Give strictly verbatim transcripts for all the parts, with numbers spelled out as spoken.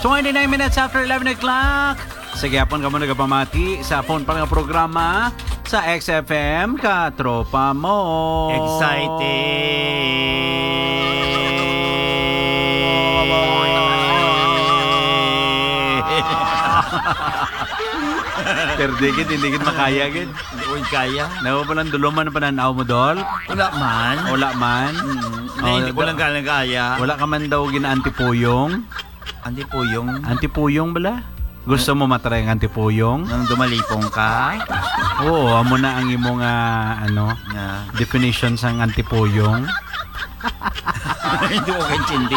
Twenty-nine minutes after eleven o'clock. Sa gihapon kamo nagapamati sa phone pa nga programa sa X F M, Katropa Mo. Excited! Pero di gid, hindi gid makaya gid. Hindi ko kaya. Nawa pa lang duluman ang pananaw mo, Dol? Wala man. Wala man? Mm. Oh, Hindi, hindi ko da- lang kaya. Wala ka man daw ginaantipuyong? Antipuyong. Antipuyong bala? Gusto mo matry ang antipuyong? Nang dumalipong ka? Oo, amo na ang imo nga, ano, Nga. definition sang antipuyong. Hindi ko kaintindi.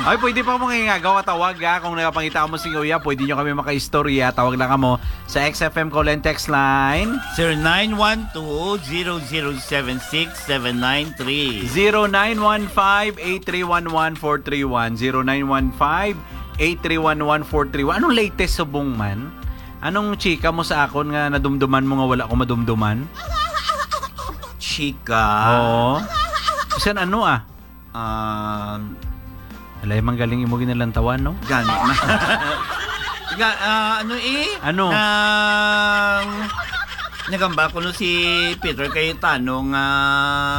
Ay, pwede pa mo nga tawag, ha. Kung nagapangita mo sing uyab, pwede nyo kami makaistorya. Tawag lang kamo sa X F M call and text line. Zero nine one two, zero zero seven six, seven nine three. Zero nine one five, eight three one one, four three one. Zero nine one five, eight three one one, four three one. Anong latest subong man? Anong chika mo sa akon nga nadumduman mo nga wala ko madumduman? Chika? Oo. Bisan ano, ah? Um, Alay, man galing imo ginalantawan, no? Gani. Ga, ah, ano eh? Ano? Nang, nagambal ko no si Peter Cayetano nga,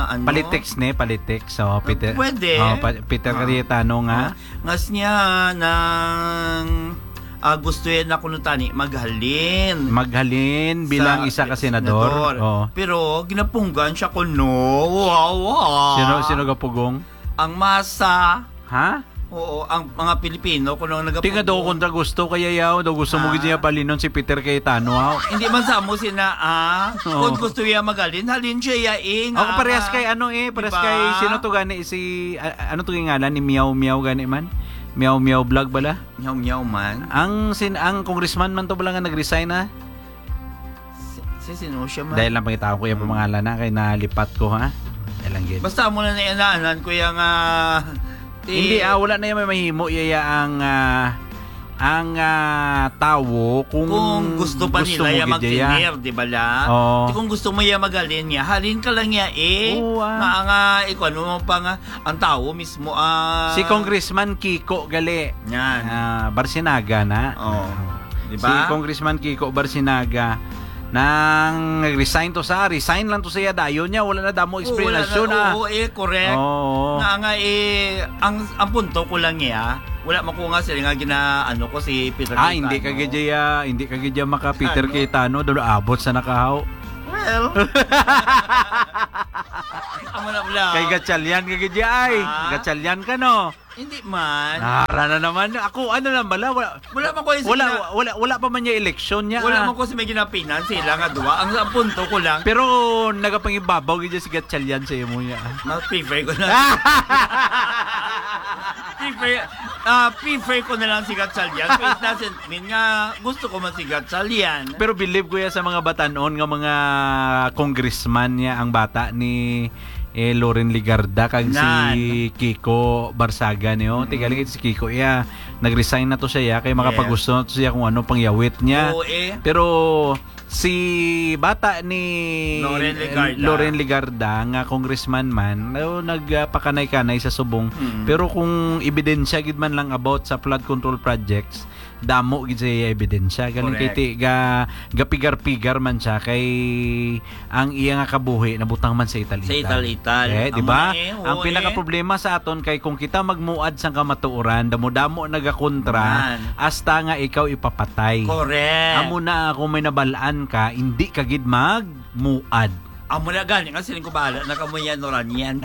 ano? Politics ni, politics. So, Ah, Peter, pwede. Oh, pa- Peter Ah. Cayetano nga. Oh, ngas niya nang, ah, gusto yan ako no tani maghalin. Maghalin bilang Sa isa ka senador. senador. Oh. Pero ginapunggan siya ko no. Wow, wow. Sino, sino gapugong? Ang masa. Ha? Oo, ang mga Pilipino, kung ang nagapugo. Tinga daw kontra gusto, kaya yaw, daw gusto mo Ah. gid niya palinon si Peter Cayetano, ha? Hindi man sa mo sina, ah. Oo. Kung gusto niya magalin, halin siya ya, eh, nga, Ako parehas nga. kay ano, eh, parehas Diba? kay, sino to gani, si, a- ano to yung ngalan, ni Miao Miao gani man? Miao Miao Vlog bala? Miao Miao man. Ang sin-, ang congressman man to bala nga nag-resign na? Si, si sino siya man? Dahil lang pangita ko yung Mm. pangalan na, kay nalipat ko, ha? Dahil lang gid. Basta mo na nainaanan, kuya, nga, ti- Hindi, ah, wala na yung may mahimo, yaya, ang, ah, ang, ah, tawo kung Kung gusto pa gusto nila mo ya gid, yaya. magtener, di ba la? Oo. Di kung gusto mo ya magalin niya, halin ka lang ya, eh. Oo, ah. Nga, nga, ikaw, ano mo pa nga, ang tawo mismo, ah. Si Congressman Kiko gali. Yan. Ah, Barcinaga na. Oo. Ah. Di Si ba? Congressman Kiko Barcinaga, nang nag-resign to sa, resign lang to siya, dayon niya, wala na damo Oo, wala na. explanation, ah. Oo, eh, correct. Oo. Nga, nga, eh, ang, ang punto ko lang niya, wala man ko nga sila nga gina-, ano ko si Peter Ah, Cayetano. hindi ka gid ya, hindi ka gid ya maka Peter Ano? Cayetano, dolo abot sa nakahaw. Well. Amo na pala. Kay Gatchalian ka gid ya, ay. Ah? Gatchalian ka, no? Hindi man. Nara na naman. Ako, ano lang bala? Wala, Wala man ko yung wala, sina- wala, wala pa man niya eleksyon niya, Wala ah. man ko sa may ginapinan sila nga duwa. Ang, ang punto ko lang. Pero nagapangibabaw gid si Gatchalian sa imo niya, ah. Mas prefer ko na. Prefer, ah, prefer ko na lang si Gatchalian. So, it doesn't mean nga gusto ko man si Gatchalian. Pero believe ko ya sa mga batanon nga mga congressman niya ang bata ni eh, Loren Legarda kag si Nan. Kiko Barsaga niyo. Mm. Tigaling si Kiko, iya, nag-resign na to siya, iya, kay Yes. makapagusto na to siya kung ano pangyawit niya. Oo, eh. Pero si bata ni Loren eh, Legarda. Loren Legarda, nga congressman man, no, nagpakanay-kanay sa subong. Mm. Pero kung ebidensya gid man lang about sa flood control projects, damo gid sa iya ebidensya. Galing Correct. kay ti-, ga-, gapigar-pigar man siya kay ang iya nga kabuhi nabutang man sa ital-ital. Sa ital-ital. Eh, di Amo ba? na eh, oo Ang eh. pinakaproblema sa aton kay kung kita magmuad sang kamatuoran, damo-damo nagakontra, Man. hasta nga ikaw ipapatay. Correct. Amo na kung may nabalaan ka, hindi ka gid magmuad. Amo na gani nga siling ko, bahala na kamo yan, Noranian.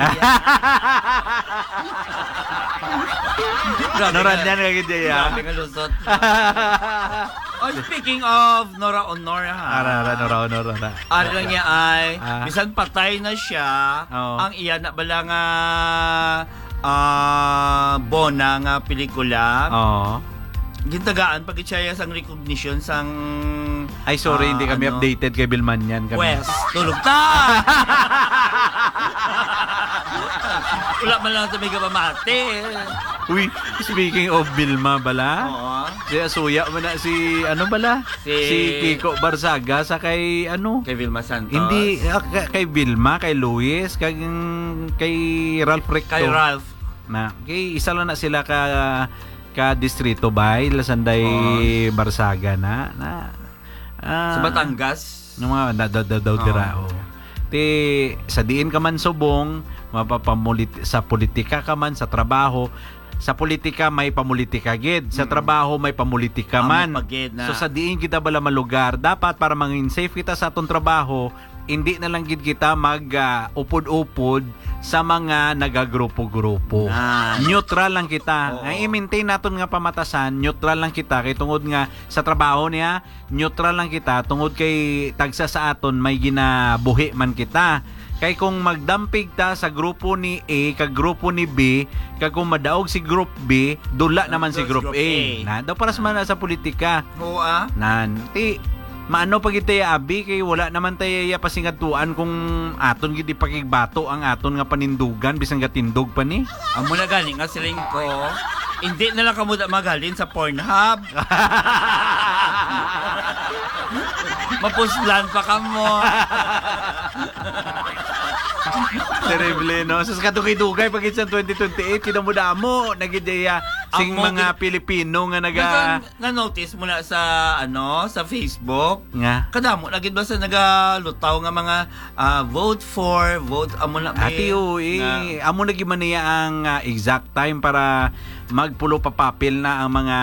Grabe Noranian nga. ka gid, ya. Grabe nga lusot. Oh, speaking of Nora Honor, ha? Ara, ara, Nora Honor, ara. Ari lang niya ay, Ah. bisan patay na siya, Oo. ang iya na bala nga, ah, bona nga pelikula, Oo. gintagaan pa gid siya sang recognition sang, Ay, sorry, ah, hindi kami ano? updated kay Bilmanyan kami. Wes, tulog ta! Wala man lang sa may kapamati. Uy, speaking of Vilma bala, Oo. si Asuya man na si, ano bala? Si Si Kiko Barsaga sa kay, ano? Kay Vilma Santos. Hindi, ah, ka-, kay Vilma, kay Luis, kay, kay Ralph Recto. Kay Ralph. Na, kay isa lang na sila ka, ka distrito, bay, Lasanday, Barsaga na, na, ah, Sa Batangas? Yung mga, na, daw, daw, daw Oo. dira, oh. Ti, sa diin ka man subong, mapapamulit-, sa politika ka man, sa trabaho, sa politika may pamulitika gid, sa Mm. trabaho may pamulitika Amo man. pa gid na. So, sa diin kita bala malugar, dapat para mangin safe kita sa atong trabaho, hindi na lang gid kita mag, ah, upod-upod sa mga nagagrupo-grupo. Nan. Neutral lang kita. Oo. Ang i-maintain naton nga pamatasan, neutral lang kita. Kay tungod nga sa trabaho niya, neutral lang kita. Tungod kay tagsa sa aton may ginabuhi man kita. Kay kung magdampig ta sa grupo ni A kag grupo ni B, kag kung madaog si Group B, dula Ang naman si dos Group Group A. A. Na, daw para sa Ah. man sa politika. Oo, ah. Nan, ti, maano pa gid tayo, abi, kay wala naman tayo iya pasingadtuan kung aton gid ipakigbato ang aton nga panindugan, bisan gatindog pa ni. Amo na gani nga siling ko, hindi na lang kamo da maghalin sa Pornhub. Mapuslan pa kamo. Terrible, no? Sus, kadugay-dugay pa gid sa twenty twenty-eight, kinamo-damo na gid iya sing Amo mga gid. Pilipino nga naga- Nasa Na-notice mo na sa, ano, sa Facebook? Nga? Kadamo na gid ba sa nagalutaw nga mga, ah, vote for, vote, amo na, Ati, be, oo, eh. na Amo na gid man niya ang, ah, exact time para magpulo pa papel na ang mga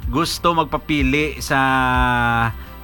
gusto magpapili sa,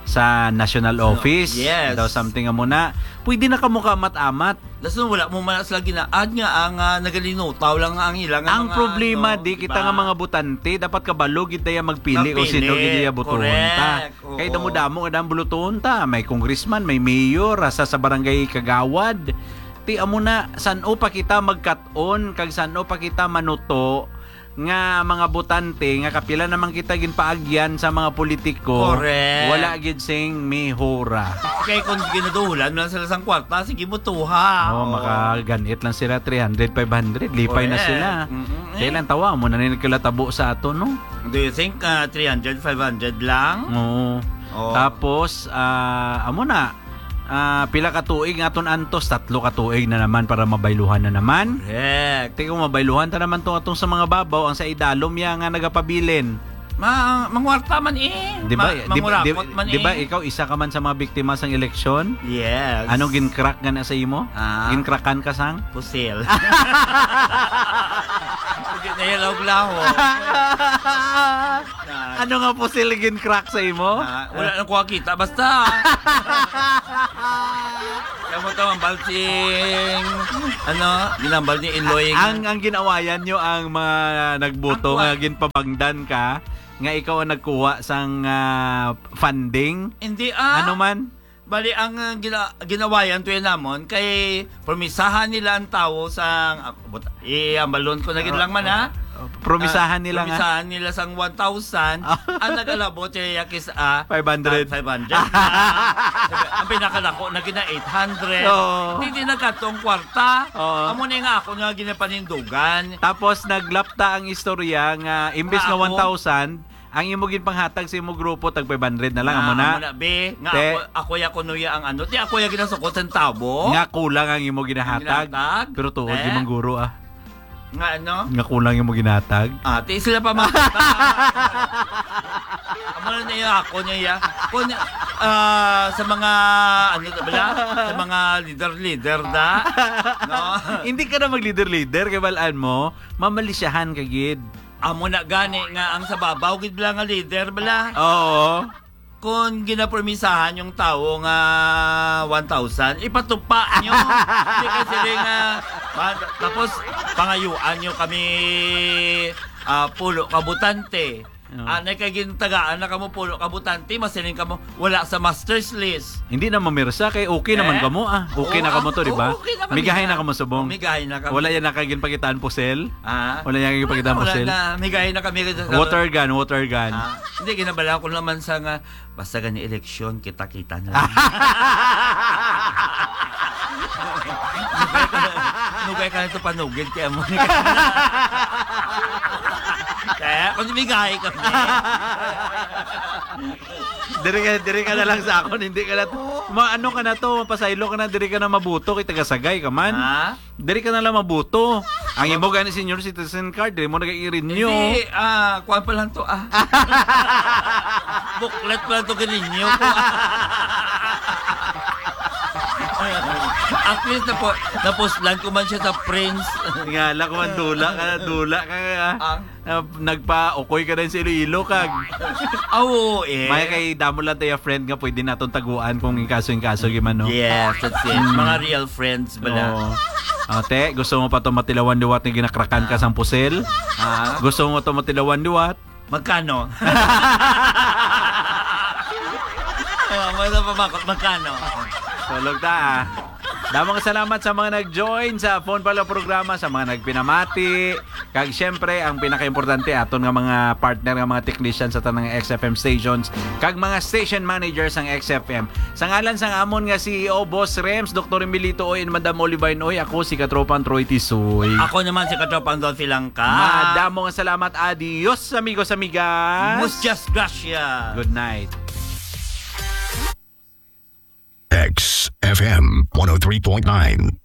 sa national So, office. yes. Daw something amo na. Pwede na kamo kaamat-amat. Dason wala mo man sila gina-add nga ang, ah, nagalinutaw lang nga ang ilang Ang mga, problema, ano, di kita diba? nga mga botante, dapat kabalo gid tayo magpili o Magpili. sino gid iya botohon ta. Correct. Kay Oo. damo-damo nga dang bulutuhon ta. May congressman, may mayor, asa sa barangay kagawad. Ti amo na, san-o pa kita magkat-on, kag san-o pa kita manuto, nga mga botante nga kapila naman kita ginpaagyan sa mga politiko, Correct. wala gid sing mihura. Kay kung ginaduhulan lang sila sang kwarta, sige, butuha. Oh, Oo. makaganit lang sila, three hundred, five hundred, lipay na Correct. sila. Mm-mm, eh. Kailan tawa mo na ni nagkalatabo sa ato, no? Do you think, ah, three hundred, five hundred lang? Oo. Oo. Tapos, ah, amo na, Ah, pila ka tuig nga aton antos? Tatlo ka tuig na naman para mabayluhan na naman. Correct. Ti kung mabayluhan ta naman tong atong sa mga babaw, ang sa idalom ya nga nagapabilin. Ma-, mangwarta man eh. Di ba, Ma-, di ba, di, mangurapot man di ba eh. ikaw isa ka man sa mga biktima sang eleksyon? Yes. Anong gin-crack nga na sa imo? Ah. Gin-crackan ka sang? Pusil. Hindi na yan lahog-lahog. Ano nga pusil gin-crack sa imo? Ah, wala na ko kita. Basta. Kamo to ang balsing, ano, ginambal ni Iloy nga Ang, ang ginawayan nyo ang mga nagboto Ang nga kuha- ginpabangdan ka, nga ikaw ang nagkuha sang, ah, funding? Hindi, ah. Ano man? Bali, ang, ah, gina-, ginawayan to yun namon, kay promisahan nila ang tawo sa, ah, but-, iambalon ko na gid lang man, ha? Ah, promisahan Ah, nila nga? promisahan nila sang one thousand, Ah. ang nag-alabot siya kis-, ah, Five hundred. ah, five hundred. Ang pinakadako na gina eight hundred. Oo. Hindi nagkatong kwarta. Oo. Amo na nga ako nga ginapanindugan. Tapos naglapta ang istorya nga imbes Nga nga ako? one thousand, ang imo ginpanghatag sa imo grupo, tag five hundred na lang, Nga, amo na. amo na, be. Nga Te. ako, ako ya kuno ya ang ano. Di ako ya ginasukot sa tabo. Nga kulang ang imo ginahatag. Ang ginahatag? Pero tuod, Te. di man guro, ah. Nga ano? Nga kulang imo ginatag. Ah, ti sila pa mga Amo na niya ako niya ya. Kun, ah, sa mga, ano, bala? Sa mga leader-leader da. No? Hindi ka na mag-leader-leader, kay balaan mo, mamalisyahan ka gid. Amo na gani nga ang sa babaw gid bala nga leader bala. Oo. Kung ginapromisahan yung tawo nga one thousand, ipatupa nyo. Hindi kasi rin nga, ma-, tapos pangayuan nyo kami, ah, pulo ka botante. Oo. Ah, na kay gintagaan na kamo pulo ka botante, masiling kamo, wala sa master's list. Hindi na mamirsa kay okay naman Eh? kamo, ah. Okay Oo, na kamo to, ah, di ba? oo, okay na kami Migahay na. na kamo subong. Oh, migahay na kami. Wala yan nakaginpakitaan pusel? Ah? Wala yan nakaginpakitaan Wala pusel? na. Migahay na kami. Water gun, water gun. Ah, hindi, ginabala ko naman sa nga, basta gani eleksyon, kita-kita na lang. Nugay ka na, nugay ka na ito panugid, kaya mo ni Kaya, kung migahay kami. Diri ka, diri ka na lang sa akon, hindi ka na to. Oo. Ma, ano ka na to? Mapasaylo ka na, diri ka na mabuto, kay taga-Sagay ka man. Ha? Diri ka na lang mabuto. Ang imo gani senior citizen card, diri mo nag-i-renew. Hindi, ah, kuwan pa lang to, ah. Buklat pa lang to, ganinyo ko. At least, napo-, napuslan ko man siya sa Prince. Nga lang, kuman, dula ka, dula ka, ah. Ah. Ah, nagpa-ukoy ka din sa Iloilo, kag. Ah, oo, eh. May kay damo lang tayo friend nga pwede naton taguan kung inkaso-inkaso, gimano. Yes, that's it. Mm. Mga real friends bala. Oo. Ate, gusto mo pa to matilawan liwat nga ginakrakan ka sang pusil? Ah. Gusto mo to matilawan liwat? Magkano? Ah, wala pa ba? Magkano? Tulog ta, ah. Damang salamat sa mga nag-join sa Phone Pala programa, sa mga nagpinamati, kag siyempre, ang pinakaimportante, aton nga mga partner, nga mga technician sa tanang X F M stations, kag mga station managers sang X F M. Sa ngalan sang amon nga C E O, Boss Rems, Doktor Emilito Oy, and Madam Olivine Oy, ako si Katropang Troy Tisoy. Ako naman si Katropang Dolphy Langka. Madamo nga salamat. Adios, amigos, amigas. Muchas gracias. Good night. X F M one oh three point nine.